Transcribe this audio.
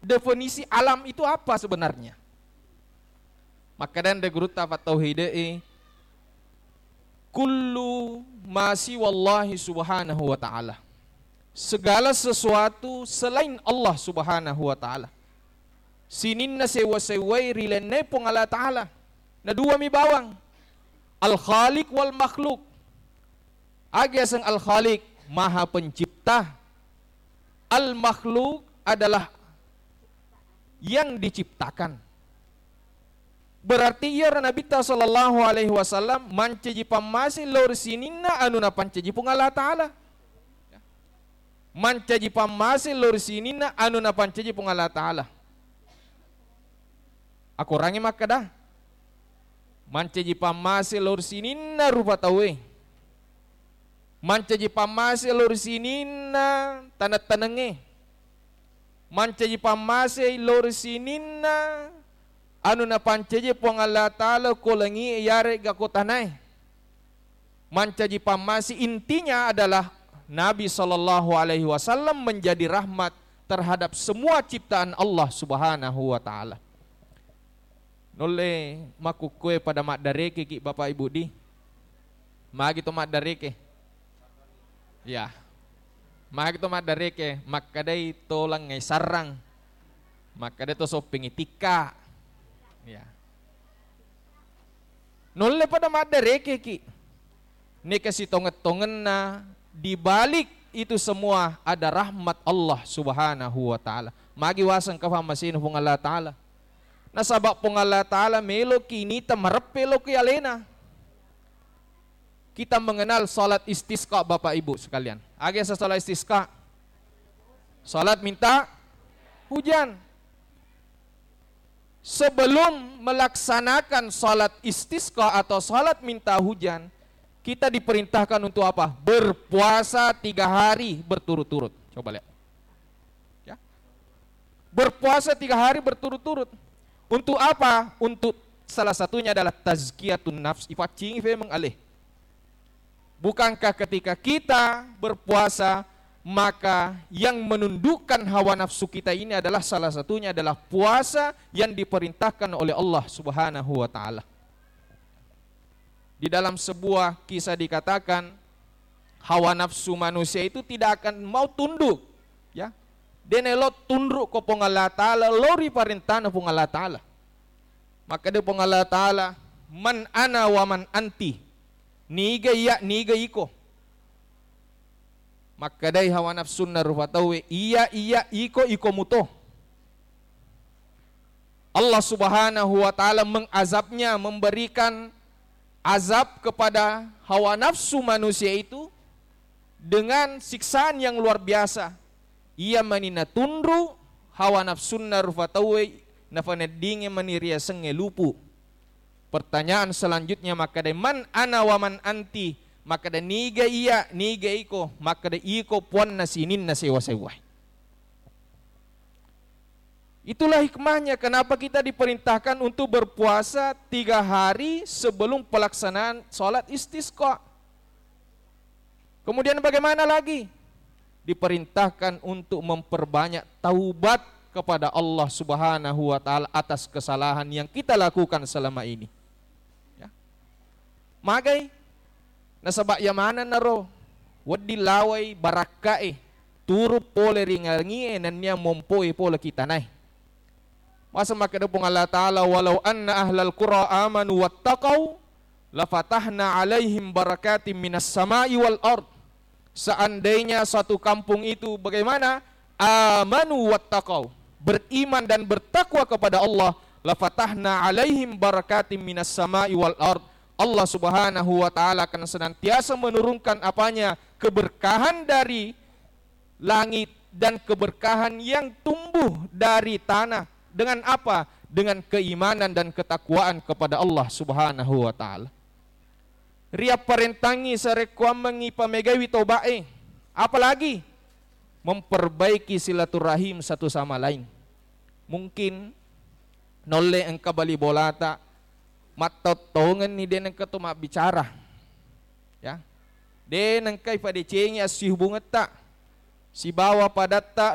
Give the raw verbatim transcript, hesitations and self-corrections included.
Definisi alam itu apa sebenarnya? Makkeda anre gurutta fattauhide'e, "Kullu ma siwallahi subhanahu wa ta'ala." Segala sesuatu selain Allah subhanahu wa ta'ala. Sininna sewwa-sewwai rilennai Puang Allah Ta'ala. Na dua mi bawang. Al-Khaliq wal Makhluk. Aga yaseng Al-Khaliq, Maha Pencipta. Al-Makhluk adalah yang diciptakan. Berarti iyaro Nabitta sallallahu alaihi wasallam mancaji pammase lao ri sininna anu napancaji Puang Allah Ta'ala. Mancaji pammase lao ri sininna anu napancaji Puang Allah Ta'ala. Akorangngi makkeda, mancaji pammase lao ri sininna rupa tauwe. Mancaji pammase lao ri sininna taneng-tanengnge. Mancaji pammase lao ri sininna anu napancaji Puang Allah Ta'ala ko langi'e yarega ko tanae. Mancaji pammase, intinya adalah Nabi sallallahu alaihi wasallam menjadi rahmat terhadap semua ciptaan Allah Subhanahu wa Ta'ala. Nulle makkukkoe pada maddarekeki, Bapak Ibu di? Magi to maddareke? Ya. Magi to maddareke, makkedai to langngai sarrang. Makkedai to soppingi tikka. Ya. Nulle pada maddarekeki. Neka sitongeng-tongenna, di balik itu semua ada rahmat Allah Subhanahu wa Ta'ala. Magi waseng ka fammasena Puang Allah Ta'ala. Nasaba Puang Allah Ta'ala meloki nita mareppe loki alena. Kita mengenal salat istisqa, Bapak Ibu sekalian. Aga yaseng salat istisqa? Salat minta hujan. Sebelum melaksanakan salat istisqa atau salat minta hujan, kita diperintahkan untuk apa? Berpuasa tiga hari berturut-turut. Coba lihat. Ya. Berpuasa tiga hari berturut-turut. Untuk apa? Untuk salah satunya adalah tazkiyatun nafs. Ipaccingi femeng aleh. Bukankah ketika kita berpuasa, maka yang menundukkan hawa nafsu kita ini adalah salah satunya adalah puasa yang diperintahkan oleh Allah Subhanahu wa Ta'ala. Di dalam sebuah kisah dikatakan, hawa nafsu manusia itu tidak akan mau tunduk, ya. De' naelo tunduk ko Puang Allah Ta'ala, lao ri parentana Puang Allah Ta'ala. Makkeda Puang Allah Ta'ala, "Man ana wa man anti?" Niga iya, niga iko? Makkedai hawa nafsunna rupa tauwe, "Iya, iya, iko, iko muto." Allah Subhanahu wa Ta'ala mengazabnya, memberikan azab kepada hawa nafsu manusia itu dengan siksaan yang luar biasa. Iya mani natunru hawa nafsunna rupa tauwe, nafaneddingi mani riasengnge lupu. Pertanyaan selanjutnya makkeda, "Man ana wa man anti?" Makkeda, "Niga iya, niga iko?" Makkeda, "Iko puanna sininna sewa-sewa." Itulah hikmahnya kenapa kita diperintahkan untuk berpuasa tiga hari sebelum pelaksanaan salat istisqa. Kemudian bagaimana lagi? Diperintahkan untuk memperbanyak taubat kepada Allah Subhanahu wa Ta'ala atas kesalahan yang kita lakukan selama ini. Ya. Magai, nasaba iya maneng naro wedding lawai barakka'e turu pole ri langi'e nennia mompoe pole ki tanae. Masa makkeda Puang Allah Ta'ala, "Walau anna ahlal qura amanu wattaqau lafatahna alaihim barakatim minas sama'i wal ard." Seandainya satu kampung itu bagaimana? Amanu wattaqau, beriman dan bertakwa kepada Allah, lafatahna alaihim barakatim minas sama'i wal ard. Allah Subhanahu wa Ta'ala akan senantiasa menurunkan apanya? Keberkahan dari langit dan keberkahan yang tumbuh dari tanah. Dengan apa? Dengan keimanan dan ketakwaan kepada Allah Subhanahu wa Ta'ala. Riapparentangngi sarekkuammengngi pamegaiwi toba'e. Apalagi memperbaiki silaturahim satu sama lain. Mungkin naulle engka bali bolata, mattottongenni de' nengka to mabbicara. Ya. De' nengka ipadecengi assihubungetta sibawa padatta